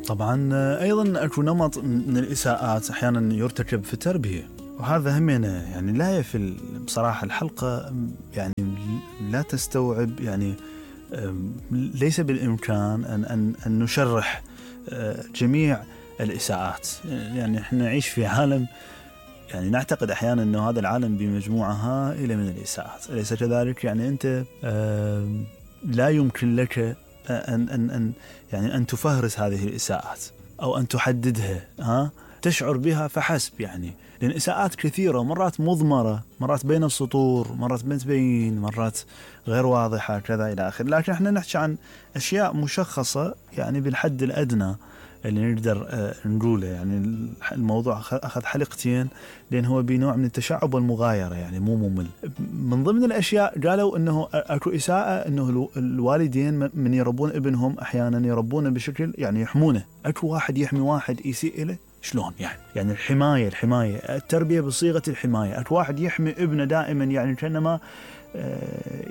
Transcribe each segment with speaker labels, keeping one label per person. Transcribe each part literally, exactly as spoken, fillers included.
Speaker 1: طبعا أيضا أكو نمط من الإساءات أحيانا يرتكب في التربية، وهذا هم يعني لا يفل بصراحة. الحلقة يعني لا تستوعب، يعني ليس بالإمكان أن, أن, أن نشرح جميع الإساءات. يعني إحنا نعيش في عالم يعني نعتقد أحيانا أنه هذا العالم بمجموعة هائلة من الإساءات، أليس كذلك؟ يعني أنت لا يمكن لك أن, أن, أن, يعني أن تفهرس هذه الإساءات أو أن تحددها، ها؟ تشعر بها فحسب، يعني لأن إساءات كثيرة، مرات مضمرة، مرات بين السطور، مرات ما تبين، مرات غير واضحة كذا إلى آخر. لكن إحنا نحكي عن أشياء مشخصة يعني بالحد الأدنى اللي نقدر نقوله. يعني الموضوع أخذ حلقتين لأن هو بنوع من التشعب والمغايرة، يعني مو ممل. من ضمن الأشياء قالوا أنه أكو إساءة أنه الوالدين من يربون ابنهم أحيانا يربونه بشكل يعني يحمونه. أكو واحد يحمي واحد يسيء له، شلون يعني؟ يعني الحماية الحماية التربية بصيغة الحماية. أكو واحد يحمي ابنه دائما، يعني كأنما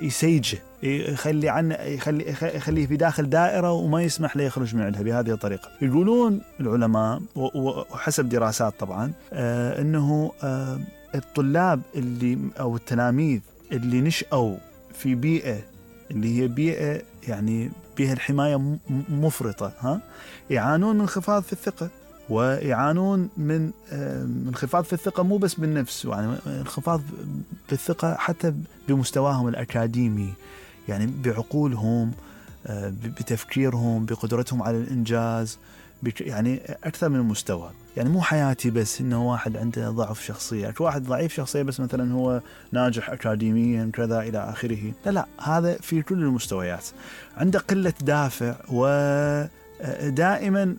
Speaker 1: يسيجه، يخلي عنه، يخلي يخليه في داخل دائرة وما يسمح له يخرج من عندها بهذه الطريقة. يقولون العلماء وحسب دراسات طبعا أنه الطلاب اللي أو التلاميذ اللي نشأوا في بيئة اللي هي بيئة يعني بها الحماية مفرطة، ها، يعانون من انخفاض في الثقة، ويعانون من انخفاض في الثقة مو بس بالنفس، يعني انخفاض بالثقة حتى بمستواهم الأكاديمي، يعني بعقولهم، بتفكيرهم، بقدرتهم على الإنجاز، يعني أكثر من المستوى. يعني مو حياتي بس إنه واحد عنده ضعف شخصية، واحد ضعيف شخصية بس مثلا هو ناجح أكاديميا كذا إلى آخره. لا لا، هذا في كل المستويات. عنده قلة دافع و دائما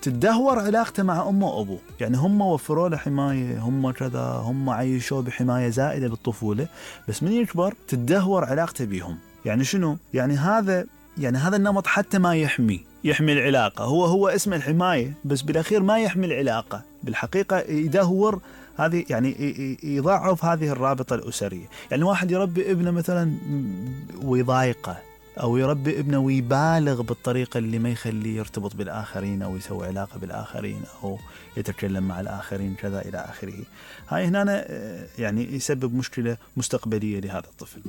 Speaker 1: تدهور علاقته مع أمه وأبوه. يعني هم وفروا له حماية، هم كذا، هم عيشوه بحماية زائدة بالطفولة، بس من يكبر تدهور علاقته بهم. يعني شنو؟ يعني هذا يعني هذا النمط حتى ما يحمي يحمي العلاقة، هو هو اسم الحماية بس بالأخير ما يحمي العلاقة، بالحقيقة يدهور هذه، يعني يضعف هذه الرابطة الأسرية. يعني واحد يربي ابنه مثلا ويضايقه، أو يربي ابنه ويبالغ بالطريقة اللي ما يخليه يرتبط بالآخرين أو يسوي علاقة بالآخرين أو يتكلم مع الآخرين كذا إلى آخره. هاي هنا يعني يسبب مشكلة مستقبلية لهذا الطفل.